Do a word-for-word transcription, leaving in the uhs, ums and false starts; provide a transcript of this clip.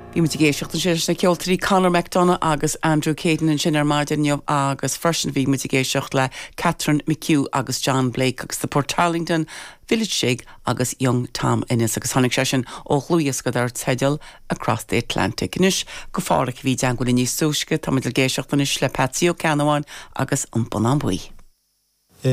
Bhí muid ag éisteacht ansin leis na ceoltóirí Conor McDonagh agus Andrew Caden ansin ar maidin inniu agus freisin bhí muid ag éisteacht le Catherine McHugh agus John Blake agus the Portarlington Village Jig agus Young Tom Ennis agus tháinig sé sin ó dhlúthdhiosca dar teideal Across the Atlantic. Anois go fáric bhí deanhfuil níos túisce tá muid ag éisteacht anois le Patsy Ó Ceannabháin agus an Bonnán Buí.